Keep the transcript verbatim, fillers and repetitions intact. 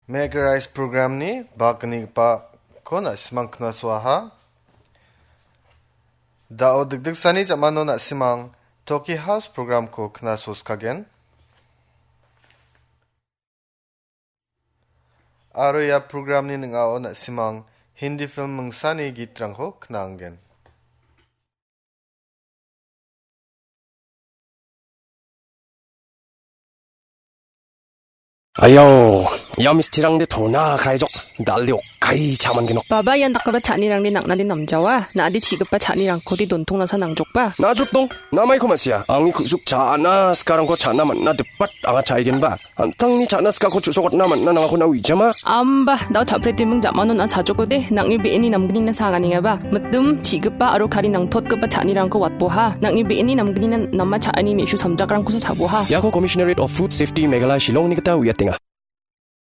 Make Rice programni bakgnigipako na·simang knasoaha. Da·o dikdiksani jamano na·simang Toki House programko knasoskagen. Aro ia programni ning·ao na·simang Hindi film mingsani gitrangko knaanggen. Ayao, ia mistirangde tona kraijok, dalde okkai chaman genok. Baba, ian dakgipa cha·anirangde nang·nade namjawa, na·ade chi·gipa cha·nirangkode dontongnasa nangjokba. Najrok dong, namaiko ma·sia, angni ku·suk cha·ana sikarangko cha·na man·na dipat anga cha·aigenba. An·tangni cha·na sikako chu·sokatna man·na nangako na uijama? Amba, dao cha·pretiming jamano na sajokode, nang·ni be·eni namgnina saganengaba. Mitim, chi·gipa aro kari nangtotgipa cha·anirangko watboha. Nang·ni be·eni namgnina nama cha·ani me·su samjakrangkosa chaboha. Iako Commissionerate of Food Safety Meghalaya Shillongni gita uiatenga.